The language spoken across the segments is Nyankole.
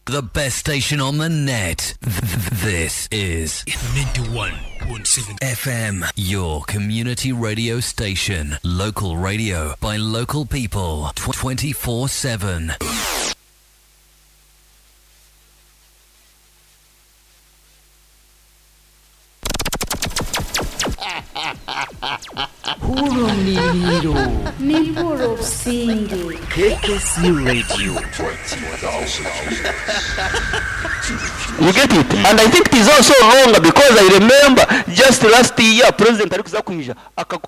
The best station on the net. This is 91.7 FM, your community radio station. Local radio by local people 24 7. Hurumliro. Nibwo obusinge. KKC Radio. You get it? And I think it is also wrong because I remember just last year president arikuza kwija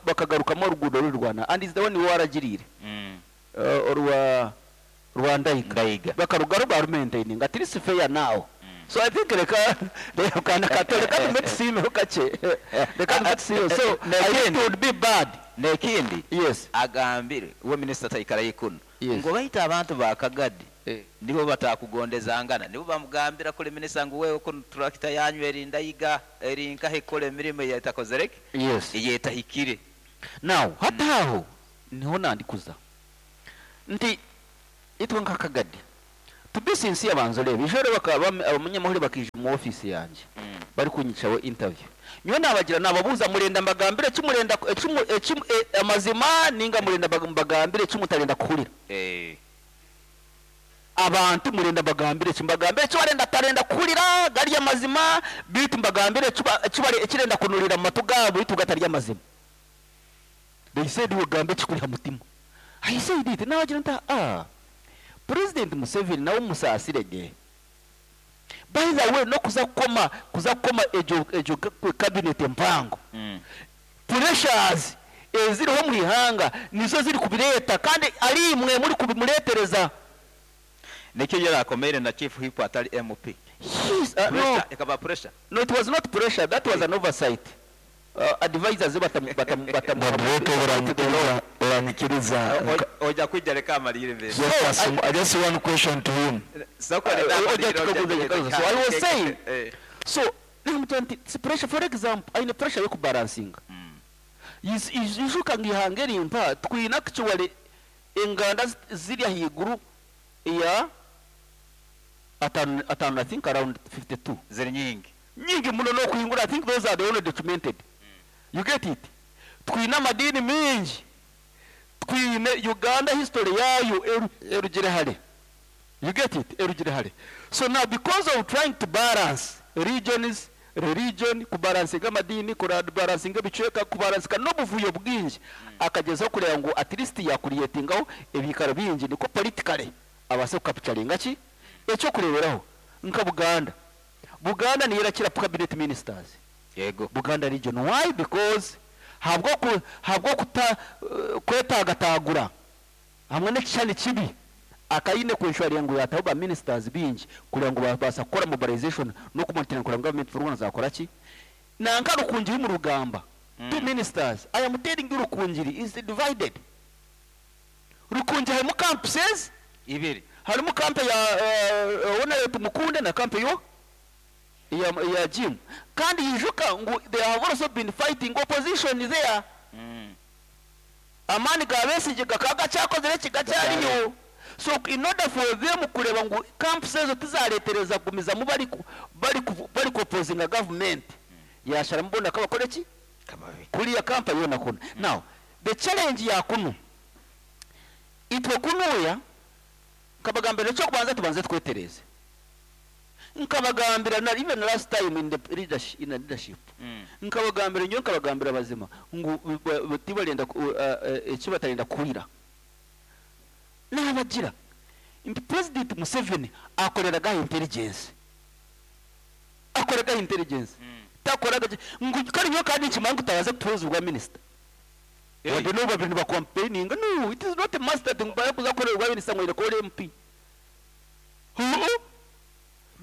bakagarukamu oruguudo ruri Rwanda and is the one waragiriire orwa rwa Ndaiga Ndaiga. bakarugaru barumaintaining at least fair now. So I think reka reka nakato reka tume tusiimeho kakye reka tume tusiimeho so I think it would be bad. N'ekindi Yes. agambire uwe minisita taikara ikuno Yes. ngo baita abantu ba Kagadi Eh. nibo batakugondezangana nibo bamugambira kuri minisita ngu wewe kuno turakita yanyu eri Ndaiga eri nkahe ikora emirimo eyetakozereke Yes. eyetahikire. Now hati aho niho nandikuza nti itwe nka Kagadi to be sincere banza urebe ejo rero bakaba abanyamahuri bakija mu office yanjye bari kunyicaho interview nyowe nabagira nababuza murenda mbagambire kimurenda amazima ninga murenda mbagambire kimutarenda kuhurira Eh. abantu murenda mbagambire kimbagambire kibarenda atarenda kuhurira gari amazima bitu mbagambire kibare ekirenda kunurira mu matu gabo bitu gatari amazima. They said ugambe kikuri mutima. I said it nabagira nta President Museveni nawe musasirege. By the way no kuza kukoma kuza kukoma ejo ejo cabinet mpango. Pressures eziriho mu ihanga nizo ziri kubireta kandi ari imwe muri kubimuretereza. Nikyo yarakomere na chief whip atari MP. Yes, no. Pressure, ekaba pressure. No, it was not pressure. That was an oversight. Advisors batam batam batam. Moderator uranyikiriza Oja kwijja reka amalire mbere. Just just one question to him. Soko Oja tukaguza So I was saying, Eh. so nti pressure for example, aine pressure yo kubalancinga. Ijuka ngihanga erimpa twina actually enganda ziri ahiguru ya atano atano, I think around 52. Ziri nyingi. Nyingi muno no kuhingura. I think those are the only documented. You get it? Twine amadini mingi. Twine Uganda history yayo erugire hare. You get it? Erugire hare. So now because of trying to balance regions, religion, kubalansinga amadini, kubalansinga ebicweka, kubalansinga n'obuvuyo bwingi, akagezaho kureba ngu at least yakurietingaho ebikaro bingi niko politically abase kukapturinga ki ekyokureberaho nka Buganda. Buganda niyo irakira cabinet ministers. Yego. Buganda region. Why? Because habwo ku, habwo kuta kwetagatagura hamwe n'ekishani kibi akayine kweshwariya ngu yataho ba ministers bingi kugira ngo babasa kukora mobilization no kumonitoringa kugira ngo government for Rwanda zakora ki nanka Rukungiri mu rugamba. Two ministers. I am telling you Rukungiri is divided. Rukungiri harimo campuses Ibiri. Harimo camp ya Honorable Tumukunde na camp yo ya Jim kandi yijuka ngu they have also been fighting opposition there. Amani ga Besigye gakaga cyakozere kigacyariyo. So in order for them kureba ngu camps ezo tizaretereza kugumizamu bari bari bari opposing government yashara mbona kabakore ki Kababi. kuriya camp yona kuno. Now the challenge ya kuno itwe kunuya kabagambira cyo kubanza tubanze twetereze nkabagambira na even last time in the leadership, in the leadership. Nkabagambira nyo nkabagambira bazima ngu tibalenda ekibatarinda kurira nabagira nti President Museveni akoreraga intelligence akoreraga intelligence takoraga ngu kandi nyo kandi nkimangu tabaze kutuhuza ubwa minister. Wade no babintu ba campaigning. No, it is not a master thing baye kuzakorera ubwa minister ngo irekore MP.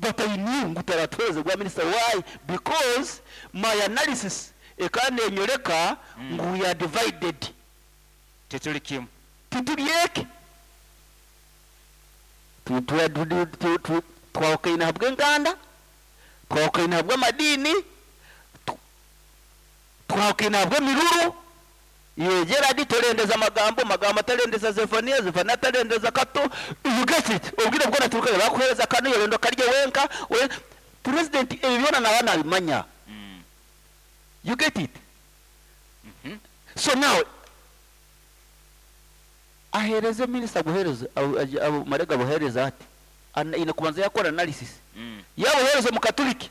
But I knew ngutaratoze ubwa minister. Why? Because my analysis ekane nyoreka ngu we are divided. Tituli kimu. Tituli yeke. Twawukaine habwe enganda, twawukaine habwe amadini, twawukaine habwe emiruru. Iwe Gerard torendeza magambo, magambo atarendeza Zephania, Zephania atarendeza Kato, you get it? Obwire bwona turukayo bakuhereza kanu yorenda okarya wenka, we president ebi byona naba nabimanya. You get it? So now ahereze minister aguhereze marega abuhereze ati ine kubanza yakora analysis. Yabuhereze mu Katoliki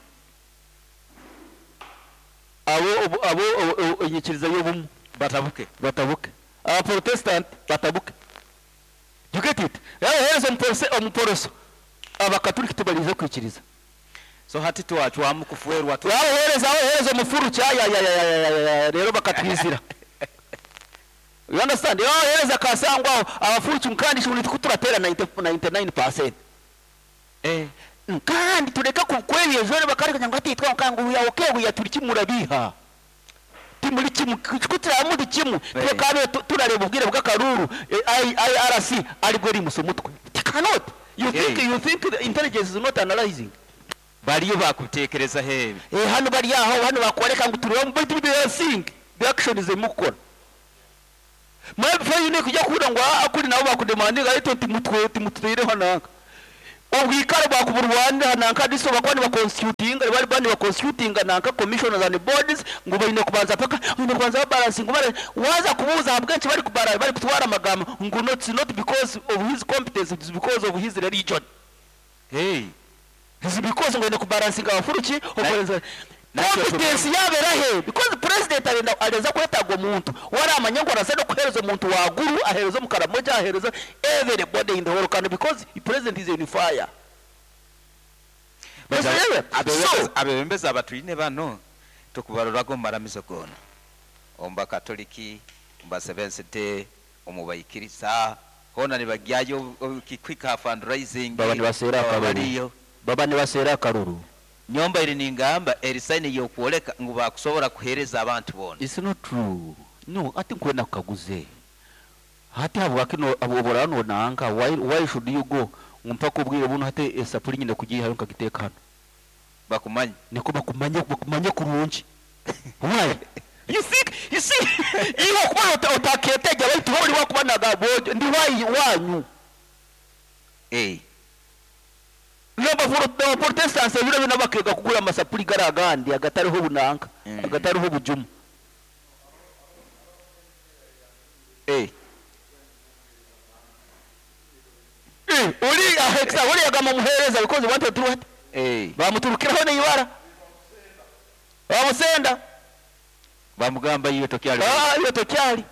abo abo enyikiriza y'obumwe batabuke batabuke, aba Protestant batabuke. You get it? Yabuhereze omuporoso abakatoliki tubarize kwikiriza. So hati twacwamu kufuerwa tu yabuhereza abahereza omufuruki aya rero bakatwizira. You understand? Yabahereza kasangwa aho abafuruki kandi shuni turatera 99%. Kandi tureka kukwebya ejo bakareka ngo atitwa nkangu ya okay ya turi kimurabiha. Timuri kimu kutira muri kimu tukabe turareba ubwire bw'akaruru IRC ari gwe rimuso mutwe. It cannot. You think you think the intelligence is not analyzing. Bariyo bakutekereza he? Hano bari aho hano bakwereka ngo tureba but they are seeing the action is mukora. Mwebwe yine kujya kubura ngo akuri nabo bakudemandinga ariko timutwe timutwire hanaka. Obwikaro bakuburwanda hanaka diso bakwani ba constituting bari bani ba constituting nanka commissioners and boards ngo bayine kubanza paka bayine kubanza balancing bare waza kubuza habwenshi bari kubara bari kutwara amagambo ngo not not because of his competence, it's because of his religion. Hey, it's because ngo kubalancinga abafuruki okorenza competence yabera he because president arenda areza kwetagwa omuntu waramanya ngo arasa no kuhereza omuntu waguru ahereza omukaramoja ahereza everybody in the whole country because the president is a unifier. Abebembezi abatwine bano tukubarorako maramizo gona omba katoliki omba Seventh-day omubayikiriza hona nibagyayo quick fundraising baba nibasera akaruru baba nibasera akaruru nyomba iri ningamba erisaini yokuoleka ngu bakusobora kuhereza abantu bona. It's not true. No, ati nkwenda kukaguze hati habwa kino abobora no nanka why should you go mpaka ubwire buno hati esapuri nyine kugiye hayo nkagiteka hano bakumanye niko bakumanye kurungi. Why you think you see iyo kuba otaketega baitu hori wakubanaga bojo ndi why wanyu n'aba Protestants biro binabakega kugura amasapuri garagandi agatariho bunanka agatariho bujumu. Uri ahexa uri agama muhereza because wanted to what bamuturukiraho n'ibara bamusenda bamugamba iyo tokyali iyo tokyali.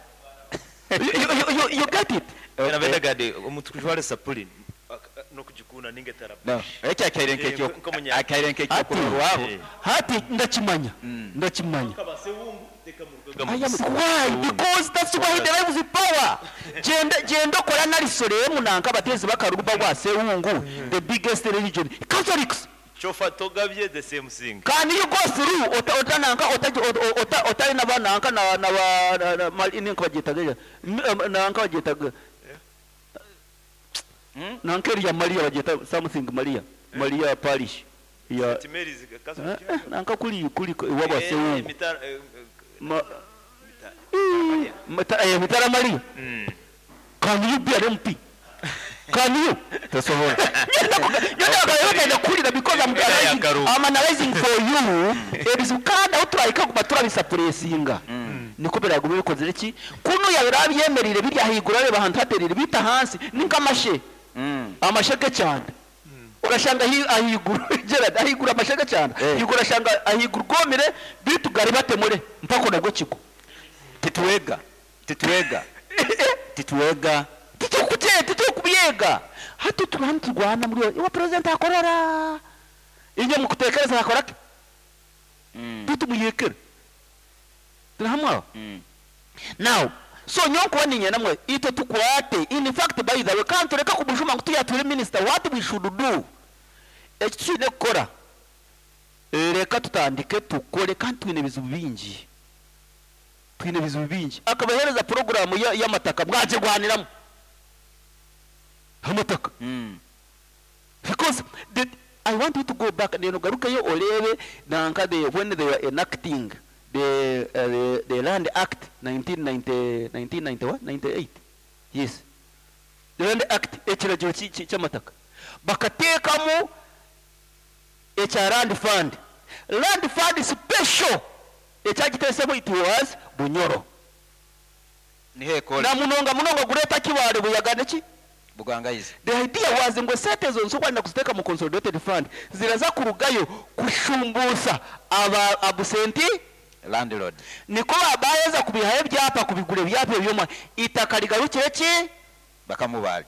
You get it? Nabendagade omutukujwale sapuri nokujikuna ninge tarabu. No, ekya akairenke kyo kurwabo. Hati ndakimanya. Ndakimanya. Why? Because that's why he derives the power. Genda kora nalisore munanka batezi bakaruba gwa sewungu the biggest religion Catholics. Chofa togabye the same thing. Can you go through otananka otari nabananka na na ninka bagitaga nanka bagitaga nankeri ya Maria bagita something Maria Maria parish ya nanka kuli waba sewungu Mitara Maria. Can you be an MP? Can you? Tosobola. Because I'm analyzing for you. Ebizukanda uturaika kubatura bisapuresinga. Niko biragume bikoze iki? Kuno yabirabyemerire birya higura reba hantu haterire bita hansi ninkamashe. Amasheke cyane. Urashanga ahigura Gerard ahigura amasheke cyane. Higura shanga ahigura gomire bitugari batemure mpako nabwo kiko. Tituwega. Tituwega. Tituwega. Titukubyega. Hati turwana muri wa president akorora. Inye mukutekereza akora ki? Tutumuyekere. Turahamwa. Now, so nyonko ninye namwe ito tukwate. In fact by the way can't reka kubujuma ngo tuyature minister what we should do. Ekitsine kukora. Reka tutandike tukore kandi twine bizu bingi. Twine bizu bingi. Akabahereza program y'amataka mwaje gwaniramo. Amataka. Because I want you to go back and garukayo orebe nanka they when they were enacting the, the, the Land Act 1990, 1991, 98 yes the Land Act ekiragiro ki- ki- ky'amataka bakateekamu ekya land fund land fund special ekyagiteesemu it was Bunyoro niho ekole na munonga munonga gureeta Kibaale Buyaga neki Bugangayizi the idea was ngu esente ezo nsokwenda kuziteeka mu consolidated fund ziraza kurugayo kushumbuusa aba absentee landlord niko babayeza kubihayo ebyapa kubigura ebyapa ebyoma itaka rigarukire ki bakamubaali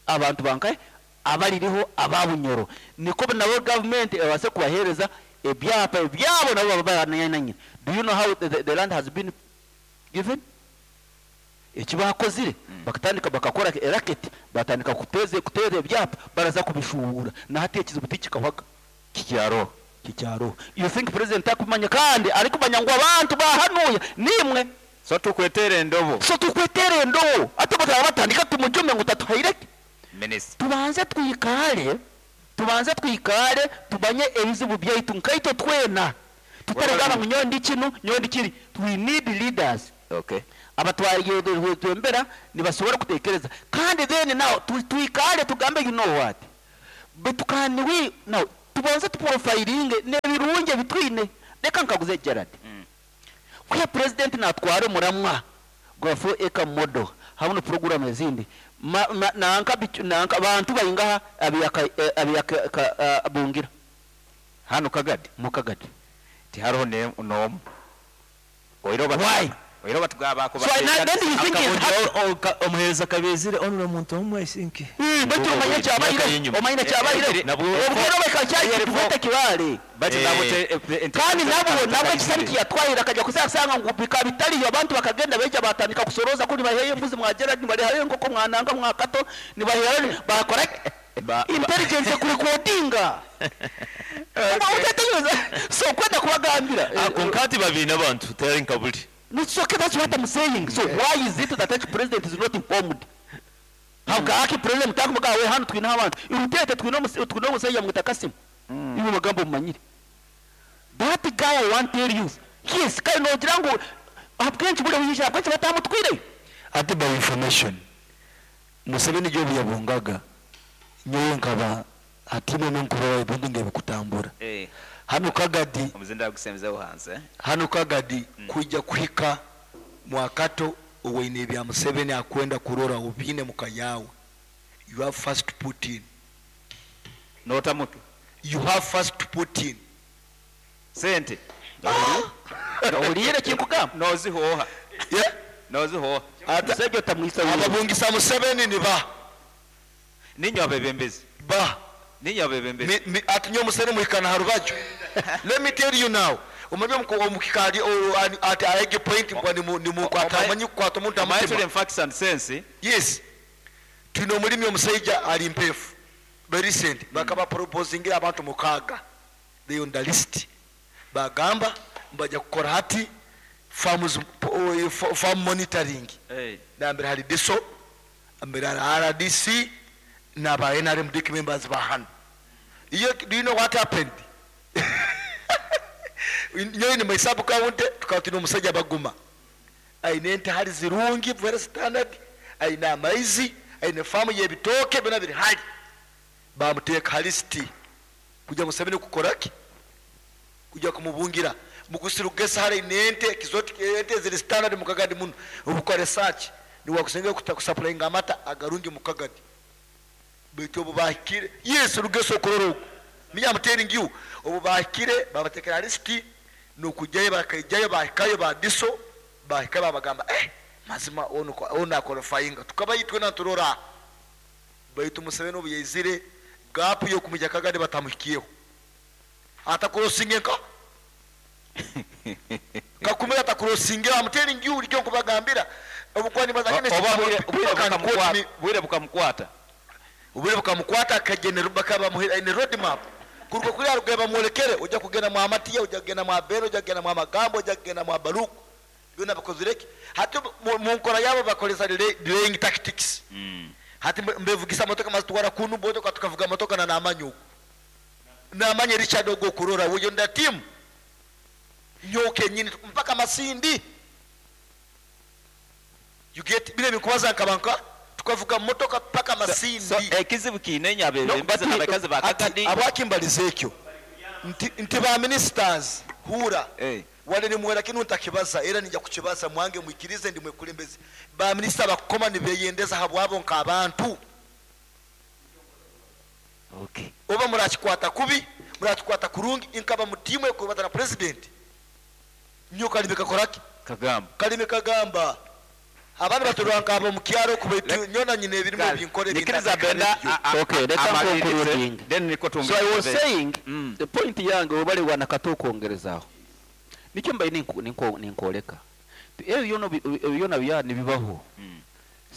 abantu bankaye abaririho ababunyoro niko nabo government ebase kubahereza ebyapa ebyabo nabo baba bananyina do you know how the, the land has been given eki bakozire bakatandika bakakora racket batandika kuteze kutera ebyapa baraza kubishuura nahati ekizibu tikikahwaga kikyaro kikyaro you think president akumanya kandi ari kumanya ngu abantu bahanuya nimwe so tukwetere endobo so tukwetere endobo ate bataba batandika tumujume ngu tatuhaireke minisita tubanze twikare tubanze twikare tumanye ebizibu byaitu nkaitwe twena tutaragamba ngu nyowe ndi kinu nyowe ndi kiri we need leaders okay abatwembera nibasobora kutekereza kandi then now tu- twikare tugambe you know what but can we now tubanze tuprofilinge n'ebirungi ebitwine reka nkaguze Gerard kuya president natwara omuramwa gwa 4 acre model hamwe na program ezindi Ma- ma- nanka bicu- nanka bantu baingaha abiyaka eh, abiyaka ka- ah, bungira hano kagadi mukagadi tihariho ne- n'omu oire Why? oire batugabako So, na- then you think it's happy. omuhereza kabezire onura omuntu omwe I think baitu omanye Myaka kyabaire y'inyuma. omanye kyabaire Nabwo- obwire bekakyakitufete kibale kandi nabo nabwo ekisani kiyatwahira akajya kuzasanga ngu bikaba bitariyo abantu bakagenda beija batandika kusoroza kuri baheye embuzi mwa Gerard nibarehayo enkoko mwananga mwa Kato nibahera bakora intelligence kurikodinga utategereza so kwenda kubagambira konkati babiri n'abantu tayari nkaburi It's okay, that's what I'm saying. So why is it that each president is not informed? Habwaki president mutakuvuga we hano twine abantu irutete twine omus- twine omusajja mwita Kasimu ibi magambo mumanyire that guy I want tell you yes kandi nogira ngu abwenshi buri buyisha abwenshi batamutwire ate by information Museveni gyo buyabungaga nyowe nkaba atime nonkuroba ebintu ngebikutambura hano kagadi omuzinda gusembezeho hanze hano kagadi kwijja kuhika mwakato owaine ebya Museveni akwenda kurora obiine muka yawe you have first to put in notamuke you have first to put in sente ohuriire kinkugamba nozihoha yeah? nozihoha Ata- musajja otamwisa wiwe ababungisa Museveni ni ba ninyo abebembezi ba ninyo abebembezi Mi- mi- ati nyo Museveni muhikana ha rubaju let me tell you now omanyi omuku- omukikaali o- ani- ati aege point mbwa nimukwata amanyi kukwata omuntu omanyi tuli amutima mu facts and sense yes tulina omulimi omusajja ali mpeefu very recent bakaba proposingira abantu mukaaga they on the list bagamba mbajja kukora hati farms, o- farm monitoring nambere hari diso ambere hari rdc n'aba nrm dic members ba hano iyo do you know what happened nyowe ni my sub county tukaba tulina omusajja baguma aine ente hali zirungi very standard aine amaizi aine faamu y'ebitooke byona biri hali bamuteeka ha lisiti kujja Museveni kukoraki kujja kumubungira mukusirugesa hali nente kizoti ente ziri standard mukagadi muno obukora research niwakusinga kusupplyinga amata agarungi mukagadi baitu obu bahikire yes rugeso okurora ogu me I'm telling you obu bahikire babatekera lisiti nokujyayo bakaijayo bahikayo ba diso bahika babagamba eh mazima ono ono aqualifyinga tukaba itwe naturora baitu Museveni obu yaizire gap yokumujya kagadi batamuhikiyeho atakurosinge nka kakumira atakurosinge I'm telling you ulikyo nkubagambira obukwani bazagende Oba bwire- bwire bukamukwata- bwire bukamukwata obwire bukamukwata akagenera bakabamuhira ine road map kuruka kuri arugaye bamwolekere ujya kugenda mu amatiya ujya kugenda mu abere ujya kugenda mu amagambo ujya kugenda mu abaruku byona bakozireke hati mu mu nkora yabo bakoresa delaying tactics hati mbe- mbevugisa motoka mazitwara kunu botoka tukavuga motoka na namanyugo namanye Richard ogo kurora uyo nda team Nyowe kenyini mpaka Masindi. You get bino ebinkubaza nkaba nka tukavuga mumotoka paka Masindi. So ekizibu kiine inye No, abebembezi but n'abakazi ba ati Kagadi. habwaki mbalize ekyo nti, nti ba ministers hura Eh. wale nimwera kinu ntakibaza era ninja kukibaza mwange mwikirize ndi mwekulembeze ba minister bakukoma nibeyendeza habwabo nk'abantu. Okay. Oba murakikwata kubi murakikwata kurungi inkaba mutimu ekubata na president nyo kalime kakoraki Kagamba. Kalime kagamba abana baturwa nkabo mu kyaro kubaitu nyona nyine ebirimu binkore Nikiriza Benda Okay, reka amalirize, nkonkurudinge. then niko So I was tumwikirize. saying the point yange obale wana katukwongerezaho nikyo mbaye ninkoleka ebyo byona byona bya nibibaho.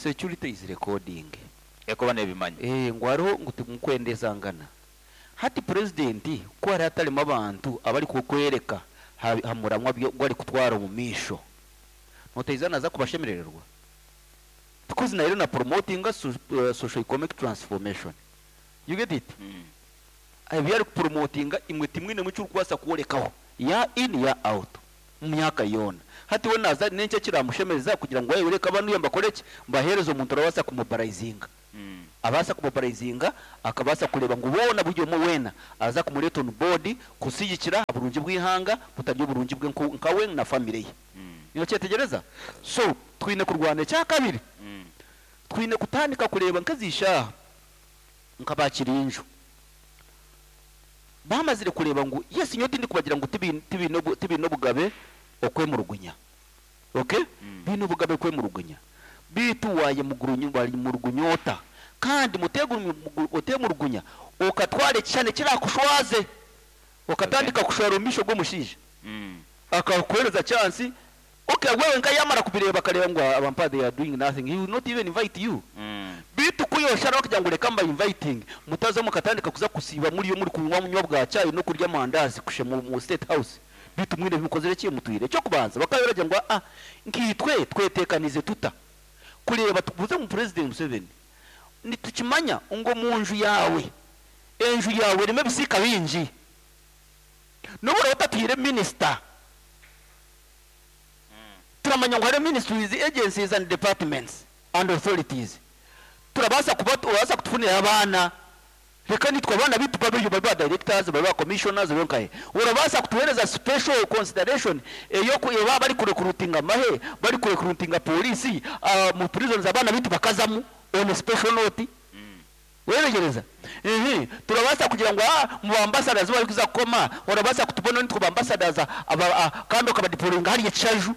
Security is recording. Ekuba n'ebimanyi. Ngu hariho ngu timukwendezangana hati president ko hari hatarimo abantu abari kukwereka hamuramwa gwari kutwara omu maisho noteiza naza kubashemerererwa because nayo na promoting a socio economic transformation, you get it? Ebi ari kupromotinga imwe timwine mucyo urikubaasa kworekaho ya in ya out mu myaka yoona hati we naza n'enki kiramushemereza kugira ngu wayoreka abantu mbakoreki mbahereze omuntu arabaasa kumobarayizinga abaasa kumobarayizinga akabaasa kureba ngu boona buri omwe weena aza kumureeta on board kusigikira oburungi bw'ihanga butari oburungi bwe nkawe na family ye. Nokyetegereza? So twine kurwana. Ekyakabiri, twine kutandika kureba nk'ezishaaha nka bakirinju bamazire kureba ngu yes nyowe tindi kubagira ngu tibine obugabe okwemurugunya, okay? Bine obugabe kwemurugunya bitu waye mugurunya bali murugunyota kandi otemurugunya okatwara ekishane kirakushwaze okatandika kushwara omu maisho g'omushaija akakuhereza chance. Okay, wewe nka yamara kubireba akareba ngu abampa they are doing nothing, he will not even invite you. Bitu kuyoshara kugira ngo reka mba inviting mutaza mukatandika kuza kusiba muri yo muri kunywa munywa bwa cyayi no kurya amandazi kushe mu State House. Bitu mwine bimukozere ki mutwire cyo kubanza bakaberagira ngo nkitwe twetekanize tuta kureba tubuze mu President Museveni nitukimanya ngo mu nju yawe enju yawe rime bisika bingi nubura utatwire minister turamanya ngo hari ministries, agencies and departments and authorities turabasa kuba urabasa kutufunira abana reka nitwe abana bitu babe babe ba directors, babe ba commissioners, babe nkahe urabasa kutuhereza special consideration eyo ku baba bari kurecruitinga amahe bari kurecruitinga polisi mu prisons abana bitu bakazamu on a special note weregereza ehe turabasa kugira ngo mu ambassadors bari kuza koma urabasa kutubona nitwe ba ambassadors aba kandi ukabadeployinga hariya Kishaju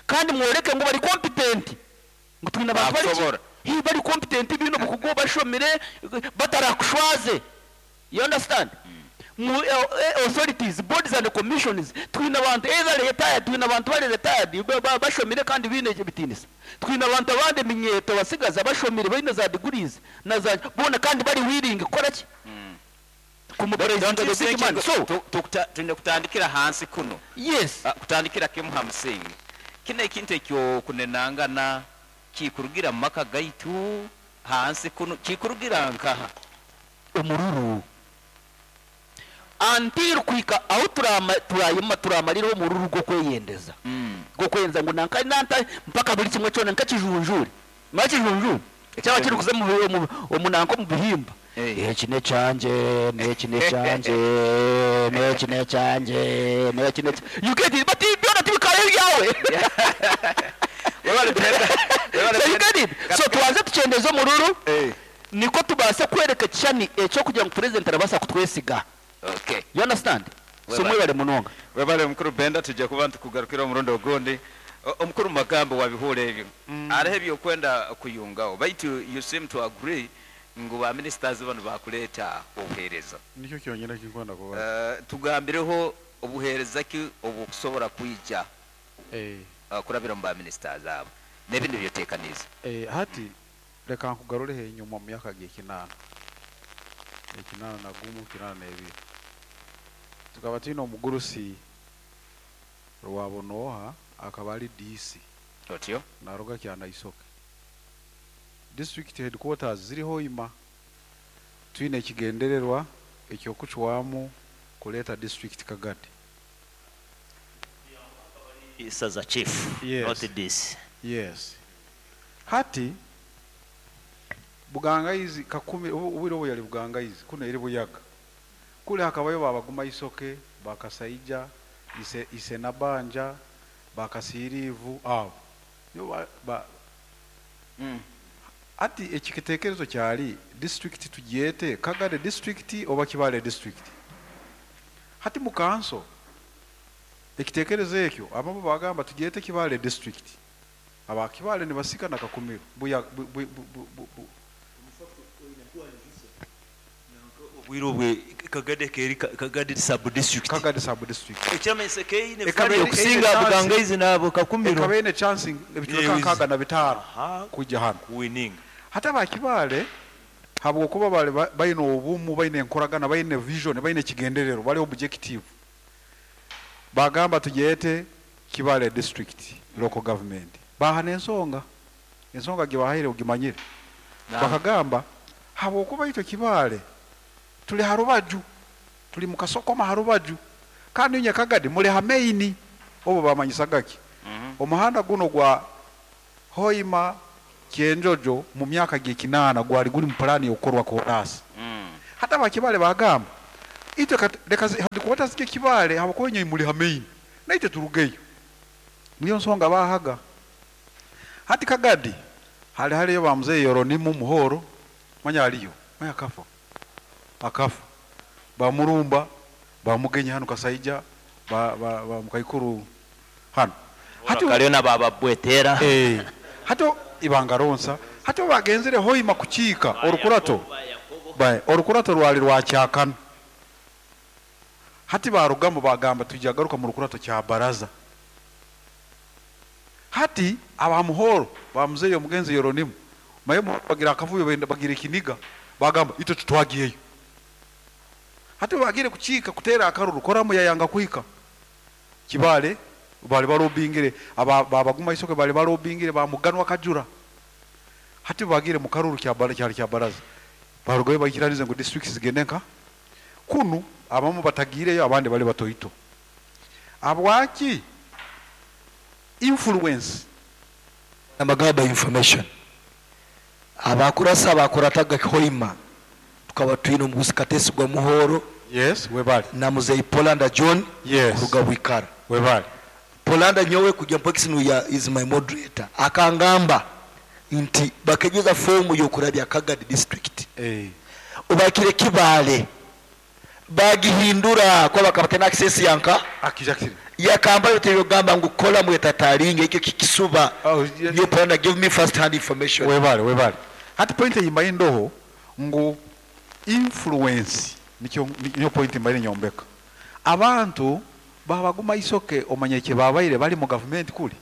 kandi mworeke ngo bari competent ngo twine abantu bari Bakusobora. Hi, bari competent bino bukugo bashomire batarakushwaze, you understand? Mu authorities, boards and commissions twine abantu either retired twine abantu bari retired bashomire kandi bine bitinisa twine abantu abandi minyeto basigaza bashomire barine za degrees na za bona kandi bari willing gukora ki Don't you kumupresident the think big man. So twine kutandikira hansi kuno? Yes. Kutandikira kimu ha musingi kino ekintu ekyo kunenangana kikurugira mu maka gaitu hansi kuno kikurugira nkaha Omururu until kwika aho turayima turamarira omururu gwo kweyendeza gwo kwenza ngo nanka nanta mpaka buri kimwe cyona nkakijunjure makijunjure cyaba kiri kuza mu omunanko mu bihimba. Eki ne kyanje neki ne kyanje neki ne kyanje neki ne you get it? But byona tibikare byawe. So you get it? So tubanze tukyendeze omururu niko tubase kwereka ekishani ekyo kugira ngu president arabasa kutwesiga. Okay. You understand? So Webale. mwebale munonga. Webale mukuru Benda tujja kuba ntukugarukira omurundi ogundi. Omukuru magambo wabihura ebyo hariho ebyokwenda kuyungaho baitu you seem to agree ngu ba ministers bano bakuleeta obuheereza. Nikyo kyonyine kinkwenda kuba. Tugambireho obuheereza ki obukusobora kwija kurabira mu ba ministers abo n'ebindi byoteekanize. Hati reka nkugarureho enyuma mu myaka g'ekinaana 81 82 tukaba twine omugurusi Rwabonooha akaba ari DC. Otyo. Naruga Kyanaisoke district headquarters ziriho ima twine ekigendererwa ekyokucwamu kuleeta district Kagadi. Isaza chief, Yes. not this. Yes. Hati Bugangaizi Kakumi obwire obu yali Bugangaizi kunu eri Buyaga. Kuli hakabayo Babaguma Isoke, Bakasaija, Ise Ise Nabanja, Bakasiiriivu abo. Nibo ba, ba Hati ekitekerezo kyali district tugyete Kagadi district oba Kibaale district? Hati mu kanso ekitekerezo ekyo abamu bagamba tugyete Kibaale district. Aba Kibaale nibasika na Kakumiro buya bu, bu, bu, bu, bu, bu. Obwire obwe Kagadi ekeri Kagadi sub district. Kagadi sub district. Ekiramanyisa keine Ekaba value eine okusinga chance- Bugangaizi n'abo Kakumiro. Ekaba eine chance ebicweka nkaaga na bitaano kwija hanu. Kuwininga. Hati aba Kibaale habwokuba bali baine obumu, baine enkoragana, baine vision, baine ekigendererwa, bali objective. Bagamba tugyete Kibaale district local government. Baha n'ensonga. Ensonga gibahaire ogimanyire. Bakagamba habwokuba itwe Kibaale tuli ha rubaju, tuli mu kasokoma ha rubaju, kandi inye Kagadi muli ha main. Obo bamanyisaga ki? Omuhanda guno gwa Hoima Kyenjojo mu myaka gy'ekinaana gwali guli mu pulaani y'okukorwa koraasi. Hati Abakibale bagamba itwe leka headquarters zije Kibaale habwokuba inywe muli ha main, naitwe turugeyo. Niyo nsonga bahaga. Hati Kagadi hali haliyo ba mzee Yoronimu Muhoro, manya aliyo, manya akafa. Akafa. Ba Murumba, ba Mugenyi hano Kasaija, ba Mukaikuru hano. Hati kaliyo na baba Bwetera. Hati ibanga ronsa. Hati bagenzere Hoima kukiika orukurato. Bae, orukurato rwali rwakyakana. Hati barugamu bagamba tujagaruka mu rukurato kya baraza. Hati aba Muhoro ba mzee omugenzi Yoronimu maye bagira akavuyo benda bagira ekiniga bagamba itwe tutwagiyeyo. Hati bagire kukiika kutera akaruru koramu yayanga kuhika. Kibaale bali barobingire aba babaguma isoke bali barobingire bamuganwa kajura. Hati bagire mu karuru kya bara cyari kya baraza. Barugoye bakiranize ngo districts zigende nka kunu abamu batagireyo abandi bali batoito. Abwaki influence amagaba information abakurasa abakurataga Hoima tukaba twine omugusi Katesigwa Muhoro. Yes, webali. Na muzei Polanda John. Yes. Kuruga Bwikara. Webali. Polanda nyowe kujya mpokisi nuya is my moderator. Akangamba nti bakegeza fomu yokurabya Kagadi district. Ubakire Kibaale bagihindura kwa bakabata access yanka akijakiri yakamba yote gamba ngu kola mwetataringe ekyo kikisuba. Yo Polanda give me first hand information. Webale, webale. Hati point yimba indoho ngu influence nikyo niyo point mbaire nyombeka. Abantu babaguma isoke omanye kye babaire bali mu government kuli.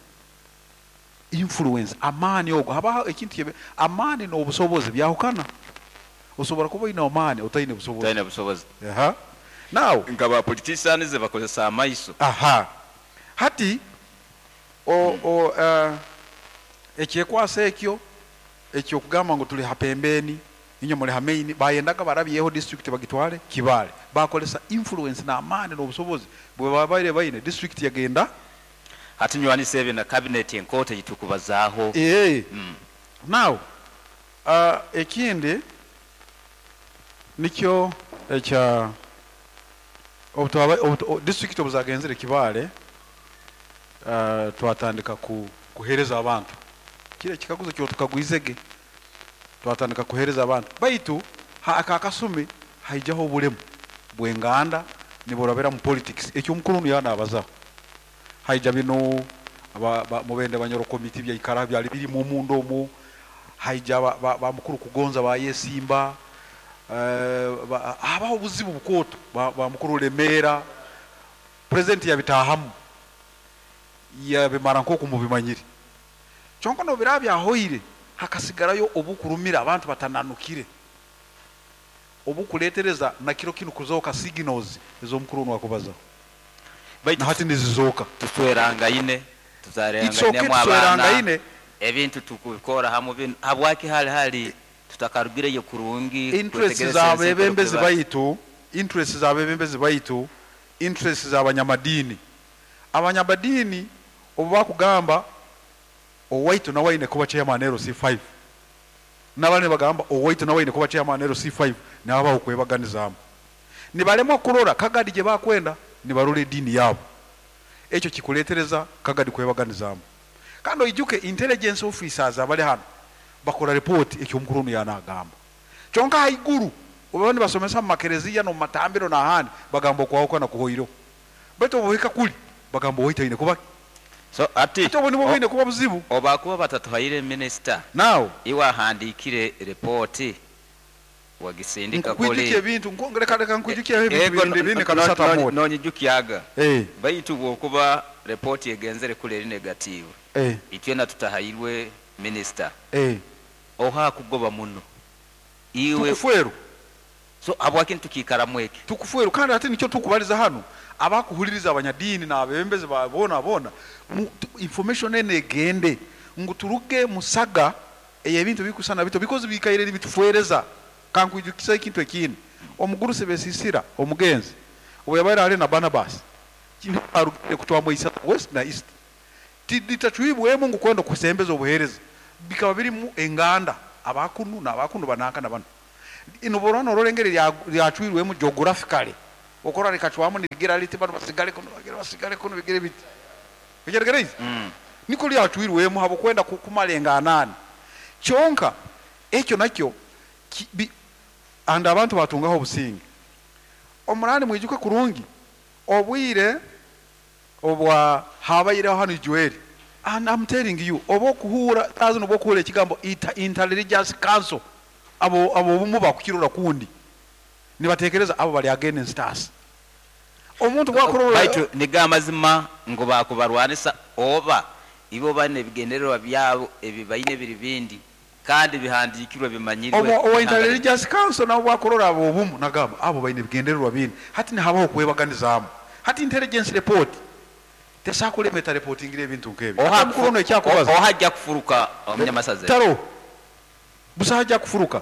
Influence amani ogo haba ekintu kye amani n'obusobozi byahukana. Osobora kuba ina amani otaine busobozi. Otaine busobozi. Aha. Now nga ba politicians bakozesa amaiso. Aha. Hati o ekyekwasa ekyo ekyo kugamba ngo tuli hapembeni inyo muli hamaini bayendaga barabyeho district bagitwale Kibaale bakolesa influence na amani n'obusobozi bwe babaire baine district yagenda. Hati nywanise ebyo na cabinet enkote gitukubazaho. Now ekindi nikyo ekya district obuzagenzere Kibaale twatandika kuhereza abantu kile kikaguzo kyo tukagwizege twatandika kuhereza abantu baitu akakasumi haijaho obulemu bwenganda niborabera mu politics ekyo mukuru yana abazaho haija bino mubende banyoro committee bya ikara byali biri mu mundo mu haija ba mukuru kugonza ba yesimba abaho buzibu bukoto ba mukuru Lemera president yabitahamu yabimara nko kumubimanyire kyonko no birabya hoire hakasigarayo obukurumira abantu batananukire obukuletereza na kiro kinu kuzoka signals ezo mukuru wakubaza Baitu hati nizizoka tuswerangaine It's okay, tuzarengaine mu abana tuswerangaine. ebintu tukubikora hamu bino habwaki hali hali tutakarugireyo kurungi interest kwetegereza za ensi bebembezi kuba- baitu interest za bebembezi baitu interest za abanyamadini abanyamadini Obu bakugamba owaitu nawe aine kuba chairman LC5, nabandi nibagamba owaitu nawe aine kuba chairman LC5, nihabaho okwebaganizaamu. Nibaremwa kurora Kagadi gye bakwenda, nibarora ediini yaabo. Ekyo kikureetereza Kagadi kwebaganizaamu. Kandi oijuke intelligence officers abari hanu bakora report eki omukuru onu yaanagamba. Kyonka ahaiguru obu baba nibasomesa omu makereziya n'omu matambiro n'ahandi bagamba okwahukana kuhoireho. Baitu obu bohika kuri bagamba owaitu aine kuba ki? So hati Hati obwo nibwo bwine kuba buzibu. Obu bakuba batatuhaire minisita, Now. iwe ahandiikire report wagisindika Nkukwijukya kuri? ebintu, nku, reka reka nkwijukyeho ebintu Ego bindi bindi nka bisatu amooti. nonyijukyaga Eh. baitu bwokuba report egenzere kuri eri negative, itwena tutahairwe minisita, oha akugoba muno iwe? Tukuferu. So habwaki nitukiikaramu eki? Tukuferu, kandi hati nikyo tukubaliza hanu abakuhuliriza abanyadiini n'abebembezi ba boona boona, information eno egende ngu turuge musaga ey'ebintu bikusana bito, because bikaire nibitufereza. Kankwijukisa ekintu ekindi. Omugurusi Besisira omugenzi obu yabaire ali na Barnabas arugire kutwamu Isaza West na East, litacwibwemu ngu kwenda okusembeza obuheereza, bikaba birimu enganda, abakunu n'abakunu bananka na banu. Noborora norora engeri lyacwirwemu geographically, okora rikacwamu nirigira riti banu basigale kunu, bagira basigale kunu, bigire biti ekyetegereize niko lyacwirwemu habwokwenda kumara enganani. Kyonka ekyo nakyo and abantu batungaho obusinge. Omurandi mwijuke kurungi obwire obwa habaireho hanu Joel, and I'm telling you, oba okuhuura tazi oba okuhuura ekigambo interreligious council, abo abo obumu bakukirora kundi nibatekereza abo bali against us. Omuntu bwakurora Baitu niga amazima ngu bakubarwanisa, oba ibo bane ebigendererwa byabo ebi baine biri bindi kandi bihandikirwe bimanyirwe? Owa interreligious council nabo bwakurora abo obumu nagamba abo baine ebigendererwa bindi. Hati nihabaho okwebaganizaamu. Hati intelligence report tesakulemeta reportingira ebintu nk'ebyo. Ate omukuru ono ekyakubaza Oha ajja kufuruka omunyamasaza? Taro busaho ajja kufuruka,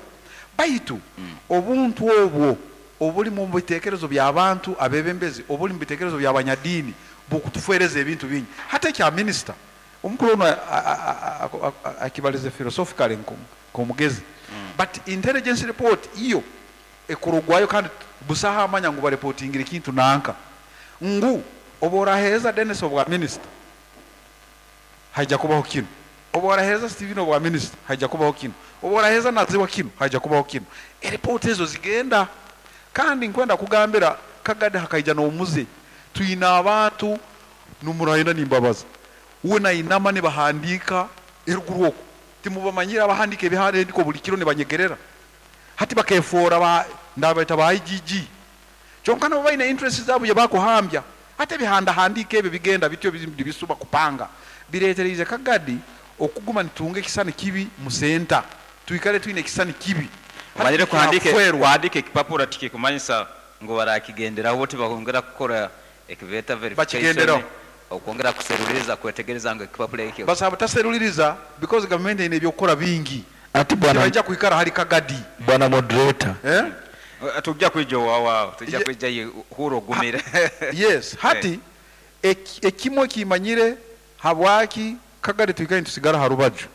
baitu obuntu obwo obuli mu bitekerezo by'abantu abebembezi, obuli mu bitekerezo by'abanyadiini, bukutufereza ebintu bingi. Hati ekya minisita omukuru ono akibalize philosophically nk'omugezi, but intelligence report iyo ekurugwayo kandi busaho amanya ngu bareportingire ekintu nanka ngu obu oraheereza Denis obwa minisita haija kubaho kinu, obu oraheereza Steven obwa minisita haija kubaho kinu, obu oraheereza Naziwa kinu haija kubaho kinu. Eripoti ezo zigenda. Kandi nkwenda kugambira Kagadi hakaija n'omuze, twine abantu numurayenda nimbabaza we nainama nibahandiika eruguru oku timubamanyire, abahandiika ebihandiiko buli kiro nibanyegerera. Hati bakefoora ba ndabaita ba IGG, kyonka nabo baine interest zaabo gye bakuhambya. Hati ebihandahandiiko ebyo bigenda bityo bisuba kupanga bireetereize Kagadi okuguma nitunga ekisani kibi mu senta, twikare twine ekisani kibi. Omanyire kuhandika kuhandika ekipapura tikikumanyisa ngu barakigenderaho, tibahongera kukora ekibeta verification. Bakigenderaho. Okwongera kuseruliriza kwetegereza ngu ekipapura ekyo Basaba butaseruliriza because gavumenti eine ebyokukora bingi. Ati bwana Tibaija kwikara hari Kagadi. Bwana moderator. Eh? Tujja kwija owawaawo, tujja kwija hura ogumire. Yes, hati ekimu ekimanyire habwaki Kagadi twikare nitusigara ha rubaju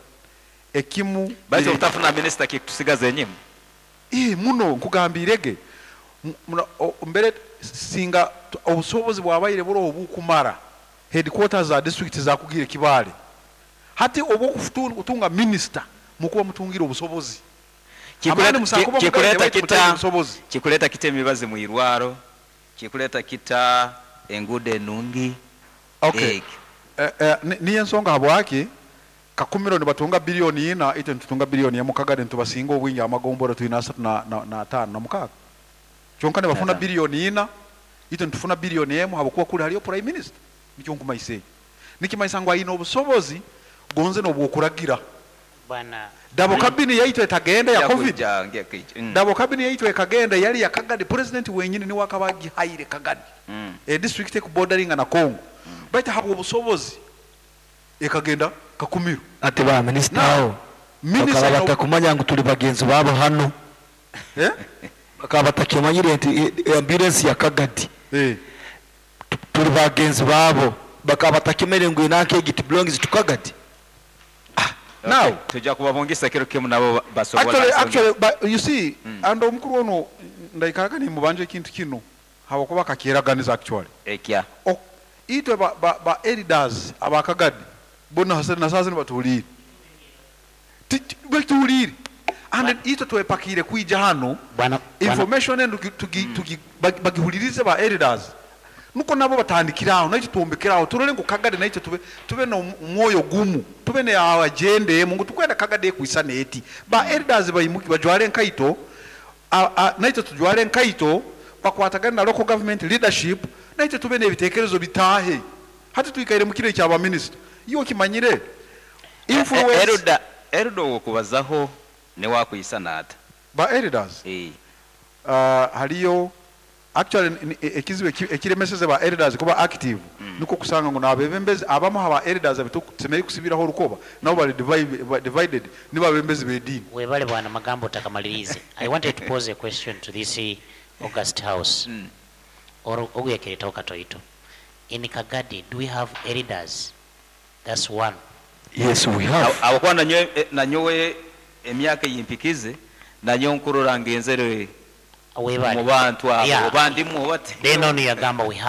ekimu. Baitu obutafuna minisita kikutusigaza enyima. Muno nkugambirege mbere singa obusobozi bwabaire buroho bukumara headquarters za district zakugire Kibale. Hati obwokutunga minisita mukuba mutungire obusobozi. Amani musakuba mugaine baitu mutaine obusobozi. Kikuleta kita emibazi mu irwaro, kikuleta kita enguudo enungi? Okay. Eki. Niyo ensonga habwaki Kakumiro nibatunga biliyoni 4, itwe nitutunga biliyoni 1. Kagadi nitubasinga obwingi, amagombora twine asatu na ataano na mukaaga, kyonka nibafuna biliyoni 4, itwe nitufuna biliyoni 1, habwokuba kuli hariyo prime minister. Nikyo nkumaisa ekyo nikimaisa ngu aine obusobozi gonze n'obwokuragira. Bwana Double cabin yaitu etagenda ya Nja COVID. kuija, nja kuija. Double cabin yaitu ekagenda yali ya Kagadi, president wenyini niwe akaba agihaire Kagadi, e district ekubordaringa na Congo, baitu habwa obusobozi ekagenda Kakumiro. Ati ba minisita Now, aho minister bakaba batakumanya ngu tuli bagenzi babo hano. Bakaba batakimanyire nti ambulance ya Kagadi tuli bagenzi babo. Bakaba batakimere ngu enanka egi it belongs to Kagadi. Now Tujja kubabungisa kiro kimu nabo basobola actually, nsonga. actually, but you see, and omukuru ono ndaikaraga nimubanja ekintu kino habwokuba akakyeraganiza actually. Ekya Itwe ba elders abakagadi bona na sasa nibatuhuliire. Batuhuliire. And itwe twepakire kwija hano Bwana information enu bagihulirize ba elders, nuko nabo batandikiraho, naitwe twombekeraho, turole ngu Kagadi naitwe tube n'omwoyo gumu, tube ne agenda emu ngu tukwenda Kagadi ekwisana eti ba elders baimuki bajware enkaito, naitwe tujware enkaito, bakwatagane na local government leadership, naitwe tube n'ebitekerezo bitaahe. Hati twikaire mu kiro ekya baminisita, iwe okimanyire influence. Elder wokubazaho newakwisana ata? Ba elders? Haliyo actually ekizibu ekiremeseze ba elders kuba active, niko kusanga ngu nabebembezi abamu aba elders abetusemere kusibiraho orukoba nabo bali divided nibabembezi b'ediini. Webale bwana Magambo, otakamalirize. I wanted to pose a question to this august house or oguyekeretaho katoito. In Kagadi, do we have elders? That's one. Yes, we have. Abakuba nanyowe emyaka eyimpikize, nanyo nkurora ngenzere Webale. mu bantu abo, Yeah. oba ndimu oba Then ono yagamba we